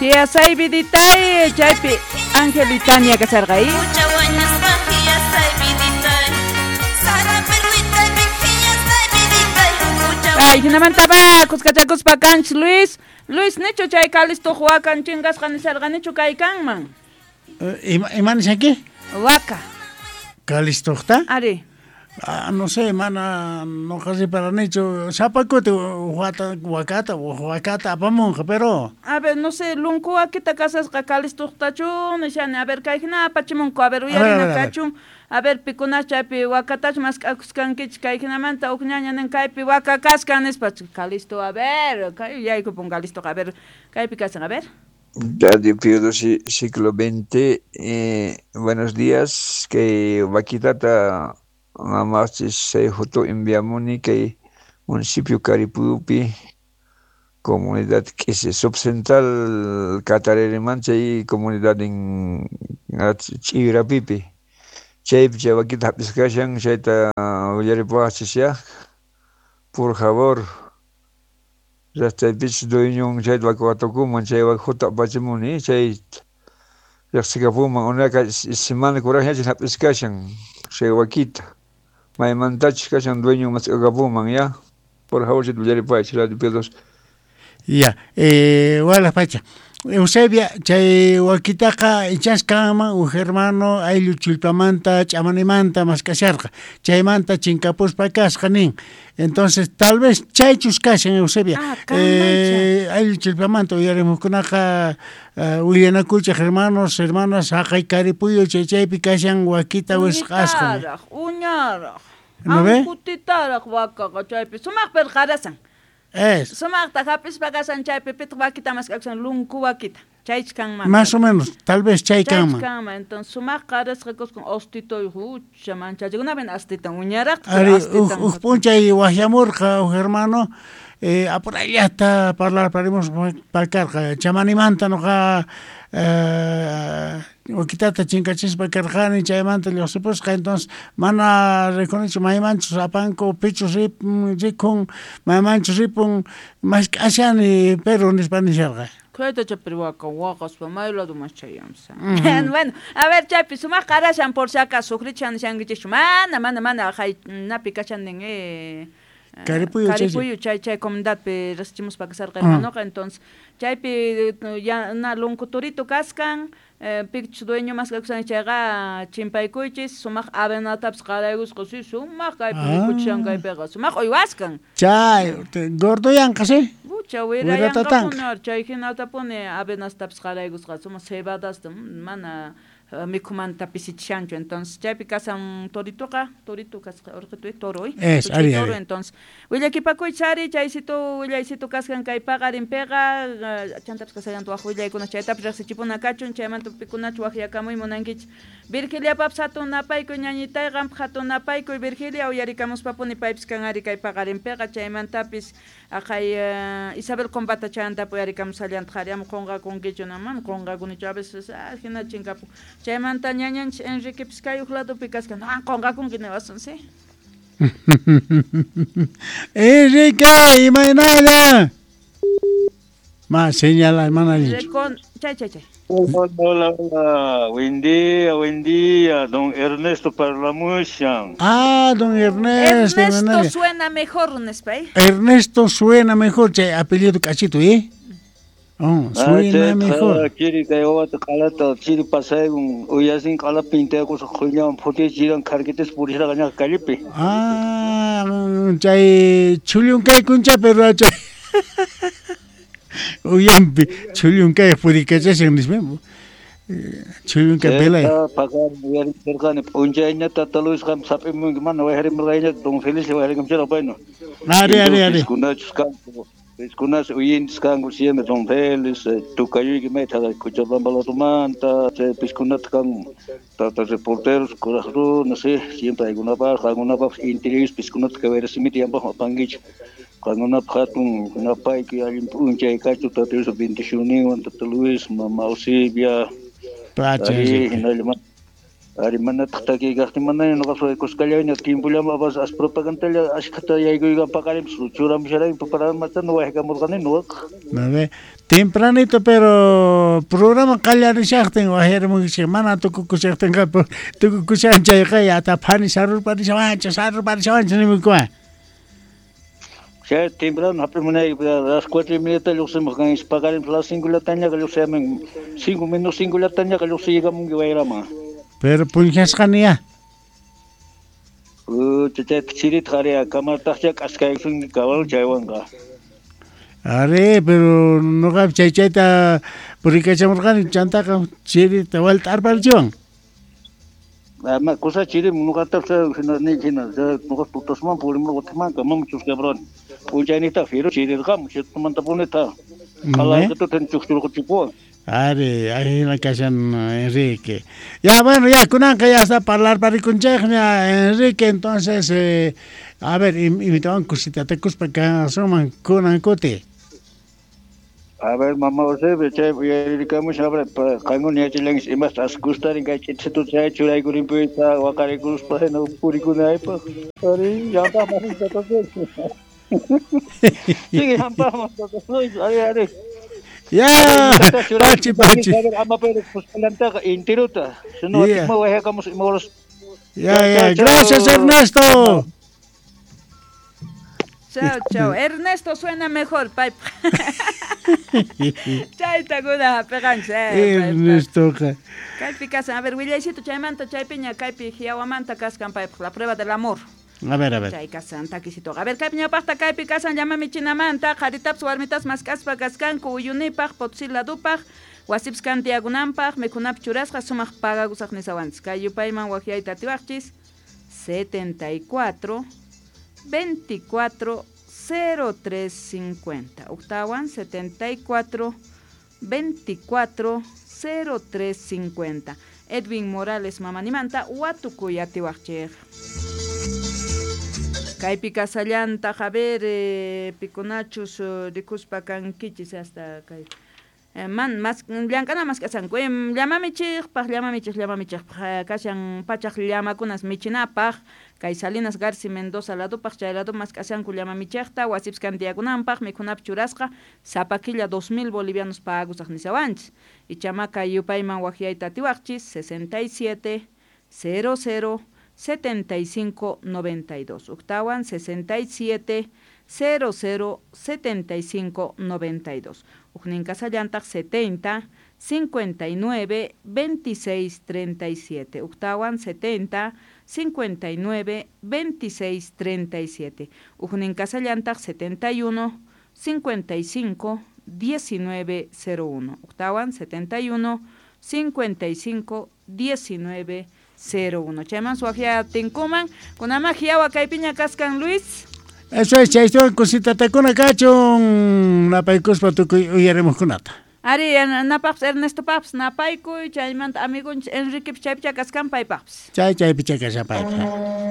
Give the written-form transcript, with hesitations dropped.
Hiasay viditay chaypi Angelitania kasarqa. Ay, hinamantaba kuskachakuspa kanchis Luis. Luis nichu chay Calistoq wakan chingasqa nisharqa nichu kay kanman. Ima ima nishanki? Waka. Calistoqta? Ari. Ah, no sé, mana noqa riparanichu sapa kuti wata wakata wakata apamunqa, pero A ver, no sé, lunku wakita kasasqa Calistoqtachu nishani, a ver, kay hina apachimunku, a ver, A ver, a uyarina ver, a ver. kachun, a ver, pikunas chaypi wakatachu mask'akuskankichik kay hinamanta uj ñaña nin kaypi waka kaskan nispa, Calisto, a ver, kay yaykupun Calistoqa, a ver, kaypi kasan, a ver. Radio Pío XII, siglo XX, buenos días, que vaquitata mamachis chay foto enviamuni kay municipio Caripupi, comunidad Quise, subcentral Catareriman, chay comunidad en Chirapipi. Chaypi chay vaquita hap'iskashan, chayta willaripuwachis ya, por favor. Llaqtaypich dueñon chayta waka watukuman, chay waka foto apachimuni, chay riqsikapuman, unayqa semana kuraqñachis hap'iskashan chay wakita. Maymantachus kashan dueñon mask'akapuman ya. Por favor, chayta willaripuwaychis Radio Pío XII. Ya, wala pacha. Eusebia, chay wakitaqa ichas kanman uj hermano ayllu chullpamanta ch'amanimanta mask'asharqa. Chaymanta chinkapuspa kasqa nin. Entonces, tal vez chaychus kashan Eusebia. Ah, kanmancha. Ayllu chullpamanta uyarimuqkunaqa willanakuychej hermanos, hermanas, haqay Caripuyo chay chaypi kashan wakita wisq'asqa. Uñitaraq, uñaraq. ¿No ve? Ankutitaraq wakaqa chaypi sumaq perqarasan. Es. Sumaqta hap'ispa kasan chaypi pitaq wakita mask'akusan lunku wakita. Chaych kanman. Más o menos, tal vez chay Chaych kanman. kanman. Entonces sumaq qarasqa kuskan ostitoy hucha manchachikunapi astitan uñaraq Ari, astitan. uj p'unchay wajyamurqa uj hermano, apurallata parlarparimos pakarqa. Chamanimanta noqa wakitata chinkachispa karqani, chaymanta lluqsipusqa, entonces mana rikunichu maymanchus apanku, pichus rikun, maymanchus ripun, mask'ashani, pero nispa nisharqa. Kayta chapir waka waqaspa may ladoman chayamsa. Bueno, a ver, chaypi sumaq qarashan por si acaso sufrichan nishankichikchu. Mana, mana, mana, hay napi kashan nin, Caripuyo, chay, chay. Caripuyo, chay, chay comunidadpi riqsichimuspa kasarqa hermanoqa, entonces chaypi ya na lunkuturito kaskan, pichus dueño mask'akusan chayqa chimpaykuychis, sumaq avenatapis qaraykusqa, sí, sumaq kaypi rikuchishan kaypiqa, sumaq uywaskan. Chay, gordoyanqa, sí. Pucha, Wiratatanqa. wirayanqapuni, chay hinatapuni avenastapis qaraykusqa, sumaq cebadasta, mana mikhumanta pisichishanchu, entonces chaypi kasan toritoqa, torito kasqa, urqituy, toro, Es, Tuchay ari, toro, ari. entonces willakipakuychis ari, chaysitu willaysitu kaskan kay paqarinpiqa, chantapis kasallantu waj willaykuna, chaytapis riqsichipuna kachun, chaymanta pikunachu wajyakamuy munankichis. Virgiliapapis hatun napaykuy, ñañitay, qampaq hatun napaykuy, Virgilia, uyarikamuspapuni paypis kan ari kay paqarinpiqa, chaymantapis aqhay Isabel Combata chayantapis uyarikamusallantaq ari, ama qunqakunkichu, no, mana qunqakunichu, a veces, hina chinkapun. Chaymanta ñañanchis Enriquepis kay uj ladopi kaskan, no, qunqakunki niwasun, sí. Enrique, imaynalla. Ma señala, mana allinchu. Recon, chay, chay, chay. Hola, hola, hola. Buen día, buen día, don Ernesto Parlamushan. Ah, don Ernesto, Ernesto imaynalla. suena mejor, nispa, ¿eh? Ernesto suena mejor, chay apellido cachito, ¿eh? Oh, suena mejor. Chiri kay wawata q'alata chiri pasaykun uyasin q'ala pintaykusqa qhuñawan phutichiran kharkitis purisharqa ñaqa callepi. Ah, chay chullunkaykuncha, pero chay uyampi chullunkay purikachashan nispa. Chullunkay pelay. Paqarin uyarisharqani p'unchayña tata Luis qam sap'imunki mana wayharimurqayña don Felice wayharikamchirqa payno. Ari, ari, ari. Piskunachus kanku. Piskunas uyintis kanku siempre don Félix, tukayuyki mayta Cochabamba ladomanta, chay piskunata kan tata reporteros, kuraq runa, sí, siempre aykunapaq, qankunapaq interiores piskunata kay wayrasimita yanpaqmi apankichik. Qankunapaq hatun napayki allin p'unchay kachu tata Luis bendicionninwan, tata Luis, mama Eusebia, Pacha, ari, Enrique. hinalla Ari manataq takiykaqtin manaña noqa kuskallaña tiempollama bas as propagandalla ashkhata yaykuyqa paqarinpis churamusharayku preparamata no waykamurqani noqaqa. ¿No ve? Tempranito, pero programa qallarishaqtin wajyarimunkichik mana tukukushaqtinqa tukukushan chayqa yata phani sarurparishawanchik sarurparishawanchik nimunkuman. Chay temprano hap'imunayki las 4:30 lluqsimuq kanchis paqarinpis las 5 llatañaqa lluqsiyamun 5 menos 5 llatañaqa lluqsiykamunki wayraman. Pero punchasqani ya. Chayta chirita ari kamartaqcha k'askaykusunki caballo chaywanqa. Ari, pero noqapi chay chayta purikachamurqani chantaqa chirita walta arparichiwan. Ma kusa chiri noqatapas hina ni hina noqa tutasman purimur watiman kamam chusqabrani. P'unchayniyta firu chirirqamu chaymantapunita qhalayqituta chukchurquchipuwan. Ari, ahí kashan Enrique. Ya, bueno, ya, kunanqa ya está parlarparikunchikña Enrique, entonces, a ver, imitawan kusitatakuspa kasuman kunan kuti. A ver, mamá Eusebia, chay uyarikamushan, a ver, qankuna yachallankichis imasta as gustarin kay ch'itchituta chay churaykurinpita waqarikuspa hina purikunaypaq. Ari, llampaqman Sigue llampaqman ari, ari. Ya, pachi, pachi. Ama pero kuskallantaqa intiruta. Sino Yeah. atikma wayakamus ima horas. Ya, ya, gracias Ernesto. Chao, chao. Ernesto suena mejor, paypa. Chayta kuna hap'iqanchis, paypa. Ernestoqa. Kaypi kasan, a ver, willaycito chaymanta chaypiña kaypi Hiawamanta kaskan paypaq, la prueba del amor. A ver, a ver. Chay kasan takisitoqa. A ver, kaypi ñawpaqta kaypi kasan llamamichinamanta, qharitapas warmitas mask'aspa kaskanku uyunipaq, Potosí ladupaq, wasipis kantiyakunanpaq, mikhunapi churasqa sumaq pagakusaq nisawanchis. Kay yupayman waqyayta atiwaqchis 74 24 03 50. Octawan 74 24 03 50. Edwin Morales mamanimanta watukuy atiwaqchik. Kaypi kasallantaq, a ver, pikunachus rikuspa kankichis hasta kay. Man mas llank'ana mask'asanku, llamamichikpaq, llamamichik, llamamichikpaq, kashan pachaq llamakunas michinapaq, kay Salinas Garci Mendoza ladupaq, chay lado mask'asanku llamamichikta, wasipis kantiyakunanpaq, mikhunapi churasqa, sapa killa 2000 bolivianos pagusaq nisawanchis. Ichama kay yupayman waqyayta atiwaqchis 67 00 75 92. Octawan 67 00 75 92. Ujnin kasallantaq 70 59 26 37. Octawan 70 59 26 37. Ujnin kasallantaq 71 55 19 01. Octawan 71 55 19 01. Chayman suajia tinkuman, kunama hiawa kaypiña kaskan Luis. Eso es, chaystuwan kusitatakuna kachun, napaykuspa tukuy uyarimuqkunata. Ari, napaqpis Ernesto papis napaykuy, chaymanta amigunchis Enrique chaypicha kaskan paypaqpis. Chay chaypicha kashan paypaq.